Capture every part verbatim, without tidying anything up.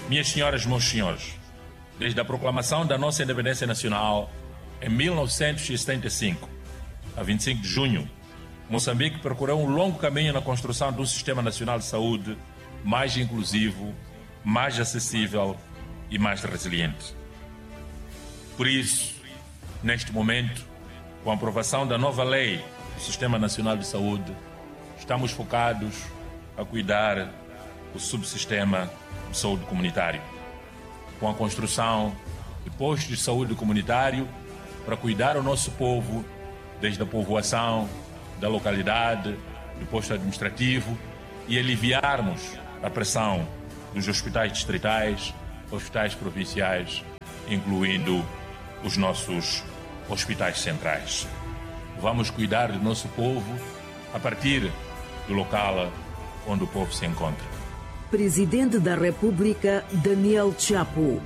Minhas senhoras, meus senhores, desde a proclamação da nossa independência nacional em mil novecentos e setenta e cinco, a vinte e cinco de junho, Moçambique percorreu um longo caminho na construção de um sistema nacional de saúde mais inclusivo, mais acessível e mais resiliente. Por isso, neste momento, com a aprovação da nova lei do Sistema Nacional de Saúde, estamos focados a cuidar do subsistema de saúde comunitário, com a construção de postos de saúde comunitário para cuidar o nosso povo, desde a povoação, da localidade, do posto administrativo, e aliviarmos a pressão dos hospitais distritais, hospitais provinciais, incluindo os nossos hospitais centrais. Vamos cuidar do nosso povo a partir do local onde o povo se encontra. Presidente da República, Daniel Chapo.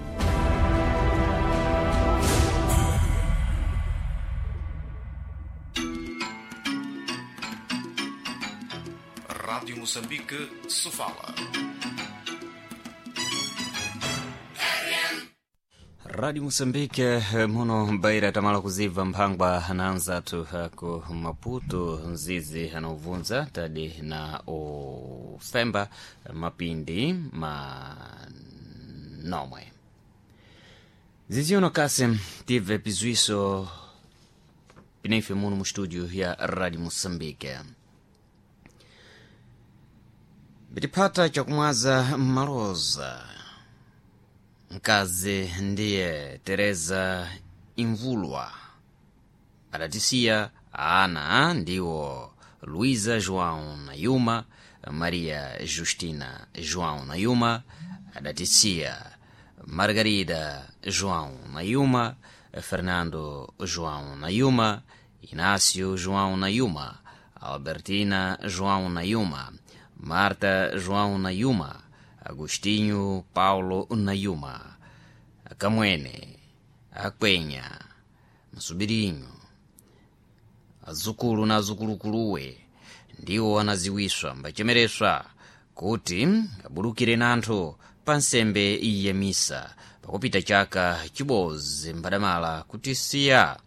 Rádio Moçambique, Sofala. Rádio Moçambique, muno baira tamala kuziva mphangwa na anzathu ku Maputo, nzizi anauvunza tadi na ufemba mapindi manomwe. Zizi uno kasi tive pizwiso pineife muno mu studio ya Rádio Moçambique. Bitipata chakumwaza maloza mkazi ndiye Teresa Imvulwa adatisiya ana ndiwo Luísa João Nayuma, Maria Justina João Nayuma, adatisiya Margarida João Nayuma, Fernando João Nayuma, Inácio João Nayuma, Albertina João Nayuma, Marta João Nayuma, Agostinho Paulo Nayuma, Akamwene, Akwenya, Msubirinho, azukulu na azukulukuluwe ndiwo anaziwiswa mbachemereswa kuti abulukire nanthu pa nsembe ya misa pakupita chaka chibozi mbadamala kuti siya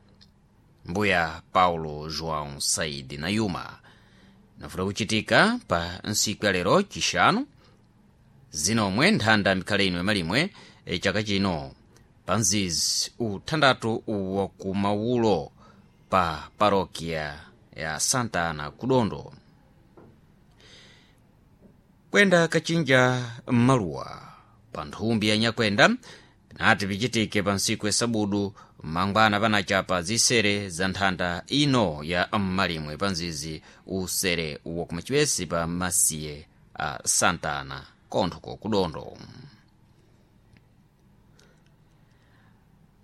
mbuya Paulo João Saidi Nayuma. Nafuta kuchitika pa nsiku ya lero chixanu zinomwe nthanda mikhale ino yamalimwe e chaka chino pa mzizi uthandatu wakumawulo pa parokia ya Santa Ana Kudondo. Kwenda kachinja maluwa pa nthumbi ya nyakwenda pinati pichitike pa nsiku ya sabudu mangwana panachapa zisere za nthanda ino ya mmalimwe pa mzizi usere wakumachipesi pa masiye a Santa Ana konthuko kudondo.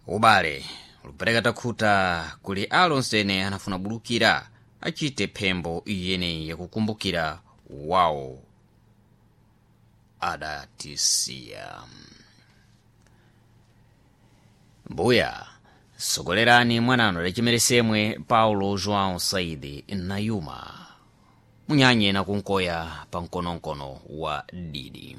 Ubale lupereka takhuta kuli alonsene anafuna bulukira achite phembo iyeneyi yakukumbukira wawo adatisiya. Mbuya sogolerani mwanano adachimeresemwe Paulo João Saidi Nayuma munyanye na kunkoya pa mkonomkono wa didi.